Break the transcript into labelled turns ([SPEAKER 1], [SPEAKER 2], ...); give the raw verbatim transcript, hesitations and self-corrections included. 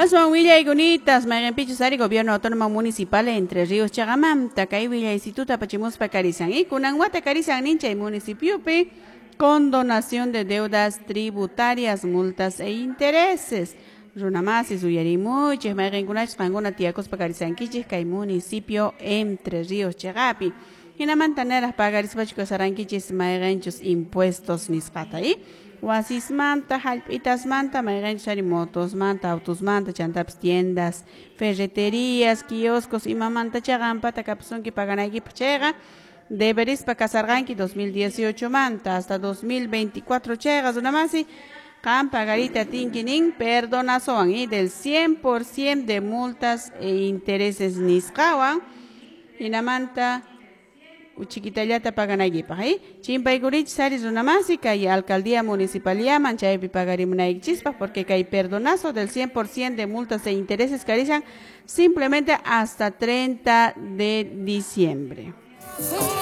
[SPEAKER 1] Aswan willaykunitas mayqinpichus ari Gobierno Autónomo Municipal Entre Ríos chaqamanta kay willaysituta apachimuspa karisan y kunan wata karisan nin chay municipiopi condonación de deudas tributarias, multas e intereses. Runamasis uyarimuychik mayqinkunachus qankuna tiyakuspa karisankichik kay municipio Entre Ríos chaqapi. Hinamanta niraq pagarispachu kasarankichis mayqinchus impuestos nisqata y wasismanta, hallp'itasmanta, mayqinchus ari motosmanta, autosmanta, chantapis tiendas, ferreterías, kioscos imamanta chaqampata kapusunki paganaykipaq chayqa deberispa kasarqanki dos mil dieciocho manta hasta dos mil veinticuatro chayqa runamasi qan pagarita tinki nin perdonazowan y del cien por ciento de multas e intereses nisqawan hinamanta uchikitallata paganaykipaq eh? Chimpaykurichis ari runamasi kay alcaldía municipal llaman chaypi pagarimunaykichispaq porque kay perdonazo del cien por ciento de multas e intereses karisan simplemente hasta treinta de diciembre.